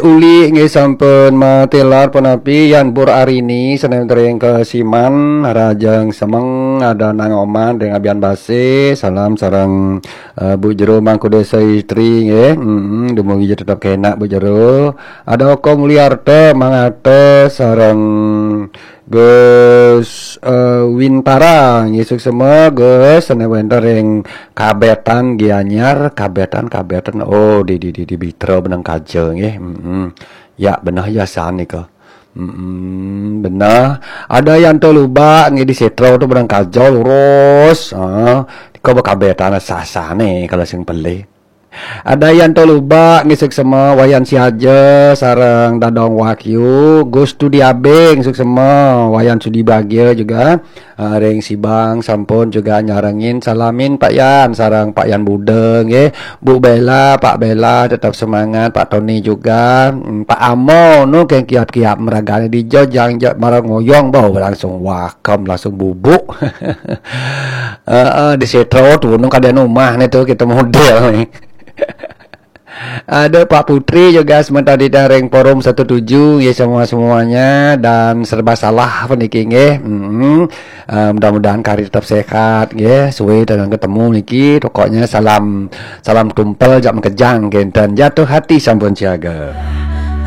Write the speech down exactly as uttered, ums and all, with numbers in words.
Uli nggih sampun matilar punapi, Yan Pur Arini, sané ring Kesiman, Rajang Semeng, ada Nang Oman ring Abian Base, salam sareng eh, Bu Jero Mangku Desa Istri nggih. Mm-mm, dumugi tetep kenak Bu Jero. Ada Oko Mulyarta, Mang Ate sareng Gus eh, Wintara nggih, suksma Gus, sané wénten ring Kabetan Gianyar, Kabetan, Kabetan. Oh, di di di di Bitra benang kaja nggih. Mm-mm. Ya, benah ya san nika. Mm-mm, benah. Ada Yanto Lubak nggih di Setro tu benang kaja lurus. Ah, nika bekabetan sasane kalau sing pelih. Ada Yanto Lubak nggih, suksma, Wayan Siaja sareng Dadong Wahyu, Gus Tudi Abeng, suksma, Wayan Sudi Bagia juga. Ah, ring Sibang sampun juga nyarengin, salamin Pak Yan sareng Pak Yan Buda nggih. Bu Bella, Pak Bella tetap semangat, Pak Tony juga. Hmm, Pak Amo nu keng kiap-kiap meragane di jojang jot marang ngoyong bau langsung wakem, langsung bubuk. Heeh, di Setro tu nu kada umah nih tu kita model nih. Ada Pak Putri juga sementara di daring Forum satu tujuh ya, semua-semuanya dan serba salah puniki nggih. Mm-mm. Eh, mudah-mudahan kari tetap sehat nggih. Suwe dengan ketemu niki. Pokoknya salam salam tumpel jak makejang kenten. Jatuh hati sampun siaga.